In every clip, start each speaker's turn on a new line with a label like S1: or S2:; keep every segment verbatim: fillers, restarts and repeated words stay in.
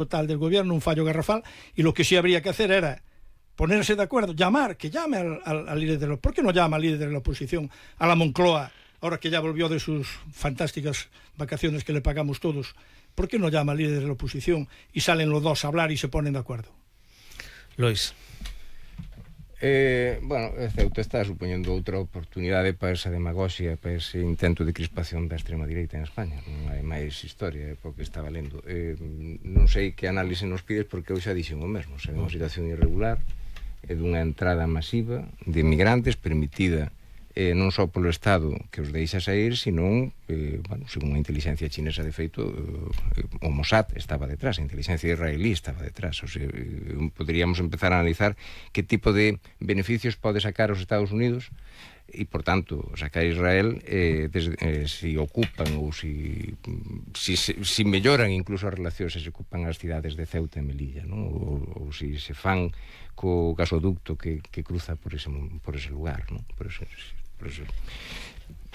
S1: total del gobierno, un fallo garrafal, y lo que sí habría que hacer era ponerse de acuerdo, llamar, que llame al, al, al líder de la... ¿Por qué no llama al líder de la oposición, a la Moncloa, ahora que ya volvió de sus fantásticas vacaciones que le pagamos todos? ¿Por qué no llama al líder de la oposición y salen los dos a hablar y se ponen de acuerdo?
S2: Lois.
S3: Eh, bueno, Ceuta está supoñendo outra oportunidade para esa demagoxia, para ese intento de crispación da extrema direita en España. Non hai máis historia, é porque estaba lendo. Eh, non sei que análise nos pides, porque eu xa dixen o mesmo. Se é unha situación irregular, é dunha entrada masiva de migrantes permitida eh, non só polo Estado que os deixa sair, senón, eh, bueno, según a inteligencia chinesa, de feito, eh, o Mossad estaba detrás, a inteligencia israelí estaba detrás. O sea, eh, poderíamos empezar a analizar que tipo de beneficios pode sacar os Estados Unidos e, por tanto, sacar a Israel eh, des, eh, si ocupan ou si, si, si melloran incluso as relacións, se ocupan as cidades de Ceuta e Melilla, ¿no? ou, ou si se fan co gasoducto que, que cruza por ese, por ese lugar, ¿no? Por ese, por ese...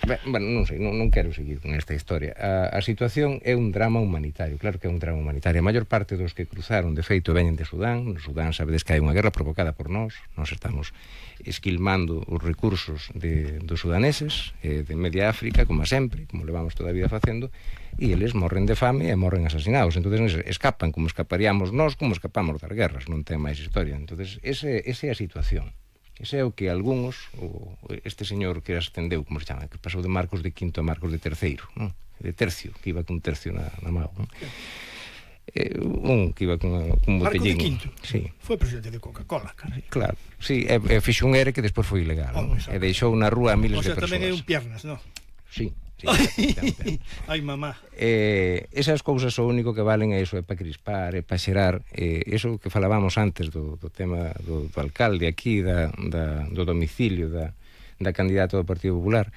S3: Bueno, non sei, non, non quero seguir con esta historia. A, a situación é un drama humanitario, claro que é un drama humanitario. A maior parte dos que cruzaron, de feito, veñen de Sudán. No Sudán sabedes que hai unha guerra provocada por nós. Nós estamos esquilmando os recursos de, dos sudaneses, eh, de media África, como sempre, como levamos toda a vida facendo, e eles morren de fame e morren asasinados. Entón escapan como escaparíamos nós, como escapamos das guerras, non ten máis historia. Entón ese, esa é a situación. Ese é o que algúns, o este señor que ascendeu, como se chama, que pasou de Marcos de Quinto a Marcos de Terceiro, non? De tercio, que iba con tercio na, na mão, non? Eh, un que iba con un botellín.
S1: Marcos de Quinto?
S3: Sí.
S1: Foi presidente de Coca-Cola, carai.
S3: Claro, sí, e, e fixo un ere que despois foi ilegal, non? E deixou na rúa a miles de persoas.
S1: O sea, tamén é un piernas, non?
S3: Sí. Sí,
S1: ai mamá,
S3: eh, esas cousas o único que valen é iso, é para crispar, é para xerar eh, eso que falábamos antes do, do tema do, do alcalde aquí, da, da, do domicilio da, da candidata do Partido Popular.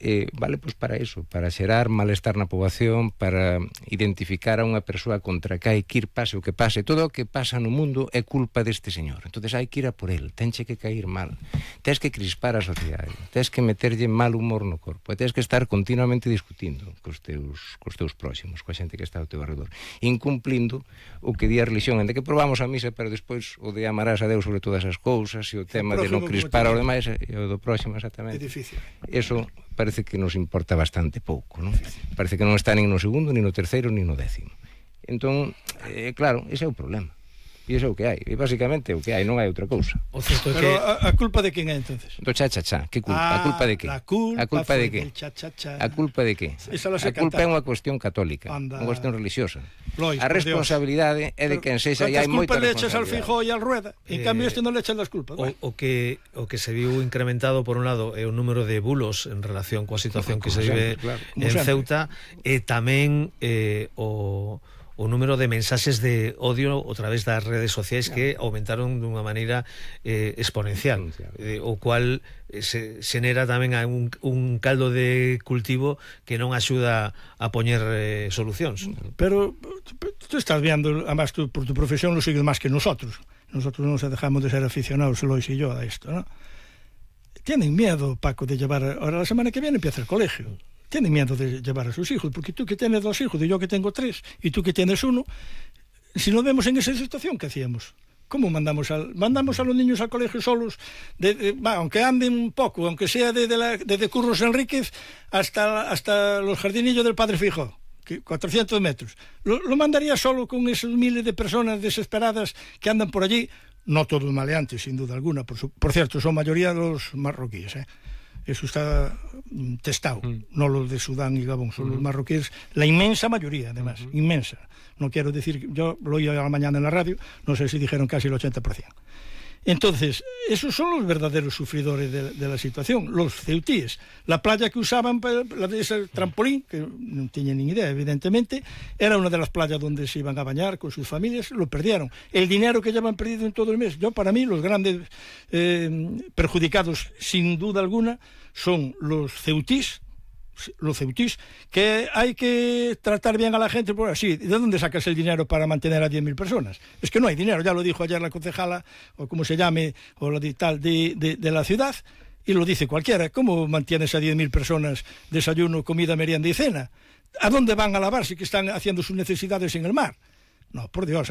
S3: Eh, vale pois para eso, para xerar malestar na poboación, para identificar a unha persoa contra que hai que ir pase o que pase. Todo o que pasa no mundo é culpa deste señor, entonces hai que ir a por el, tenche que cair mal, tens que crispar a sociedade, tens que meterlle mal humor no corpo, e tens que estar continuamente discutindo cos teus, cos teus próximos, coa xente que está ao teu arredor, incumplindo o que di a religión, en de que probamos a misa, pero despois o de amarás a Deus sobre todas as cousas, e o tema de non crispar aos demais, e o do próximo, exactamente.
S1: É difícil.
S3: Eso parece que nos importa bastante pouco, non? Parece que non está nin no segundo, nin no terceiro, nin no décimo. Entón, eh, claro, ese é o problema. E iso é o que hai, e basicamente o que hai, non hai outra cousa.
S1: O certo é que... Pero a, a culpa de quen é entonces?
S3: Do cha-cha-cha, que culpa?
S1: Ah,
S3: a culpa de que?
S1: La culpa,
S3: a culpa de que?
S1: Cha-cha-cha.
S3: A culpa de que? A culpa é unha cuestión católica, unha cuestión religiosa.
S1: Lois,
S3: a responsabilidade é de quen sexa, e hai moita responsabilidade.
S1: Culpas le echas al Feijóo e al Rueda, en eh, cambio este non le echas las culpas.
S2: O, o, que, o que se viu incrementado, por un lado, é o número de bulos en relación coa situación que se vive claro, en Ceuta, e tamén eh, o... o número de mensaxes de odio a través das redes sociais que aumentaron dunha maneira eh, exponencial, eh, o cual se xenera tamén un, un caldo de cultivo que non axuda a poñer eh, solucións.
S1: Pero tú estás viendo, además tú por tu profesión lo sigues máis que nosotros. Nosotros non se dejamos de ser aficionados, Lois y yo, a esto, ¿no? Tienen miedo, Paco, de llevar... Ahora la semana que viene empieza el colegio. Tienen miedo de llevar a sus hijos, porque tú que tienes dos hijos y yo que tengo tres, y tú que tienes uno, si nos vemos en esa situación, ¿qué hacíamos? ¿Cómo mandamos a, mandamos a los niños al colegio solos, de, de, bah, aunque anden un poco, aunque sea desde de de, de Curros Enríquez hasta, hasta los jardinillos del Padre Feijóo, que cuatrocientos metros? ¿Lo, lo mandaría solo con esos miles de personas desesperadas que andan por allí? No todos maleantes, sin duda alguna, por, su, por cierto, son mayoría los marroquíes, ¿eh? Eso está testado, mm. no los de Sudán y Gabón, son mm. los marroquíes, la inmensa mayoría, además, mm. inmensa. No quiero decir, yo lo oí a la mañana en la radio, no sé si dijeron casi el ochenta por ciento. Entonces, esos son los verdaderos sufridores de, de la situación, los ceutíes. La playa que usaban, la de ese trampolín, que no tenían ni idea, evidentemente, era una de las playas donde se iban a bañar con sus familias, lo perdieron. El dinero que llevan perdido en todo el mes, yo para mí los grandes eh, perjudicados, sin duda alguna, son los ceutís, los ceutís, que hay que tratar bien a la gente, pues así, ¿de dónde sacas el dinero para mantener a diez mil personas? Es que no hay dinero, ya lo dijo ayer la concejala, o como se llame, o la de tal, de, de, de la ciudad, y lo dice cualquiera. ¿Cómo mantienes a diez mil personas desayuno, comida, merienda y cena? ¿A dónde van a lavar si que están haciendo sus necesidades en el mar? No, por Dios, aquí